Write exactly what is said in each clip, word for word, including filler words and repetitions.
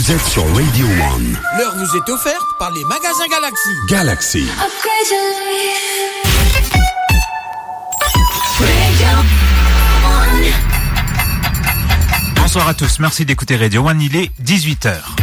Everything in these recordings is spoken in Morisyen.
Vous êtes sur Radio One. L'heure vous est offerte par les magasins Galaxy. Galaxy. Bonsoir à tous, merci d'écouter Radio One, il est dix-huit heures.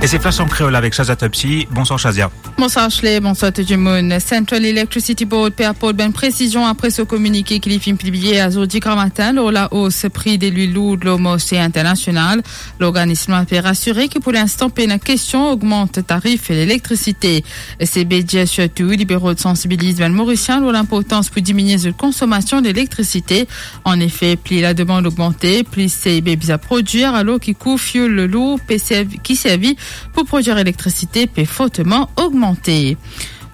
E se Flash an Kreol avek Shazia Topsy. Bonswar Shazia. Bonswar Ashley, bonswar tou dimoun. Central Electricity Board pe aport bann presizion apre so kominike ki li finn pibliye azordi gramatin lor laos pri de lwil lourd lor marse internasional. Lorganism la pe rasire ki pou linstan pena kestion ogmant tarif lelektrisite. CEB dir sirtou li pe rod sansibiliz bann Morisien lor linportans pou diminie zot konsomasion lelektrisite. Anefe, pli lademann ogmante, pli CEB bizin prodwir, alor ki kou fioul lour pe servi, ki servi pou prodwir elektrisite pe forteman ogmante.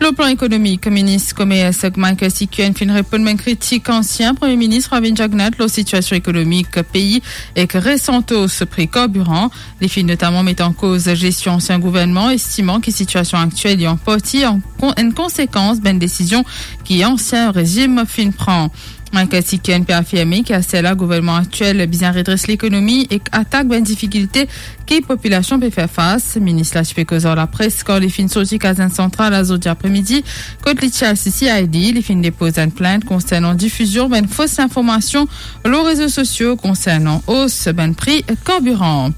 Lor plan ekonomik, minis komers Michael Sikuen finn reponn bann kritik ansien Premie Minis Pravind Jugnauth lor sitiasion ekonomik pei ek resan os pri karbiran. Li finn notaman met an koz zestion ansien gouvernman, estiman ki sitiasion aktiel li an parti an kon-, enn konsekans bann desizion ki ansien rezim finn pran. Michael Sikuen pe afirme ki aster la gouvernman aktiel bizin redres lekonomi ek atak bann difikilte ki popilasion pe fer fas. Minis la ti pe koz ar lapres kan li finn sorti Kazinn Santral azordi apremidi, kot li ti al CCID, li finn depoz enn plint konsernan difizion bann fos linformasion lor rezo sosio konsernan os bann pri karbiran.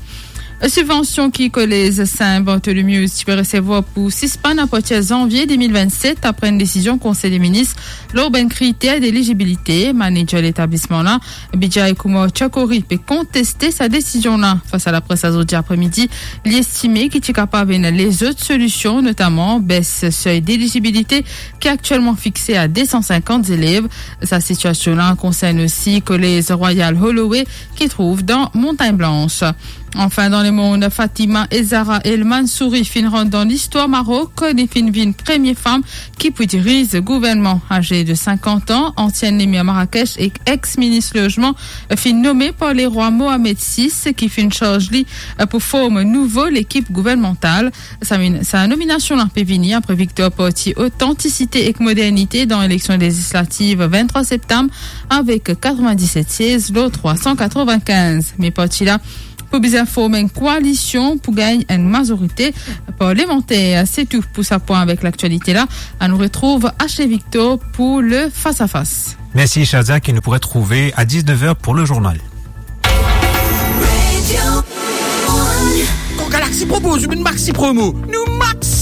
Sibvansion ki Kolez Saint Bartholomew ti pe resevwar pou sispann apartir zanvie de mil vennset, apre enn desizion Konsey de Minis lor bann kriter delizibilite. Manager letablisman la, Bijay Kumar Chakori, pe konteste sa desizion la. Fas a lapres azordi apremidi, li estime ki ti kapav ena lezot solision, notaman bes sey delizibilite ki aktielman fixe a de san sinkant zelev. Sa sitiasion la konsern osi Kolez Royal Holloway ki trouv dan Montagne Blanche. Anfin, dan lemond, Fatima Ezzara El Mansouri finn rant dan listwar Marok. Li finn vinn premie fam ki pou diriz gouvernman. Aze de sinkant an, antienn lemir Marrakech ek ex-minis lozman finn nome par lerwa Mohamed sis, ki finn sarz li pou form nouvo lekip gouvernmantal. Sa min-, sa nominasion la pe vini apre viktor parti Otantisite ek Modernite dan eleksion lezislativ venntrwa septam avek katrevin-diset siez lor trwa san katrevin-kinz. Me parti la pou bizin form enn koalision pou gagn enn mazorite parlemanter. Se tou pou sa pwin avek laktialite la. Anou retrouv Ashley Victor pou le Face à Face. Merci Shazia, que nous pourrez trouver à dix-neuf heures pour le journal. Kan Galaxy propoz ou bann maxi promo, nou max